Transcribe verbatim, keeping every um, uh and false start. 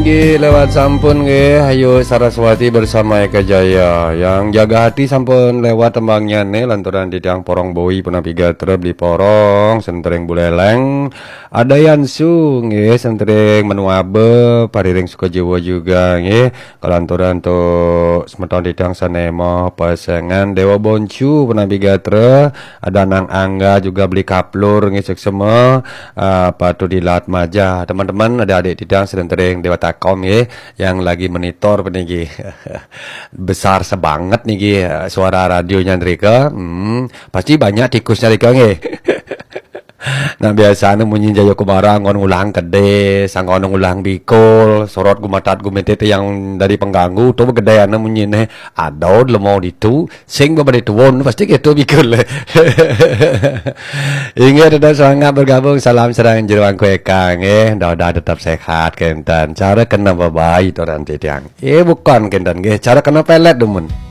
Nggih, lewat sampun nggih, Ayu Saraswati bersama Eka Jaya. Yang jaga hati sampun lewat tembangnya nih, lanturan titiang Porong Boi punapi gatra, Beli Porong, Sentering Buleleng. Ada Yansu nggih, Sentering Menuabe, Pariring Sukajiwa juga nggih. Kalanturan tuh semeton titiang Sanema, Pasengan, Dewa Boncu punapi gatra, ada Nang Angga juga, Beli Kaplur nggih, suksma, eh, apa tuh di Lat Maja. Teman-teman, ada adik titiang Sentering Dewa Takom nggih, yang lagi monitor peniki. Besar sebanget niki, eh, suara radionya mereka. Hmm, pasti banyak tikusnya mereka nggih. Nah, biasanya munyi Jaya Kumara anggon ngulang kedé, sangkono ngulang bikul, sorot gumatat gumitit yang dari pengganggu tuh gedé ana munyi nih. Aduh, lemo ditu, sing babade tuwon pasti gitu bikul. Inggih, tetap semangat bergabung. Salam sareng Jero Angku Eka nggih. Mudah-mudahan tetap sehat kenten. Cara kena babai to nanti tiang. Eh, bukan kenten nggih. Cara kena pelet dumun.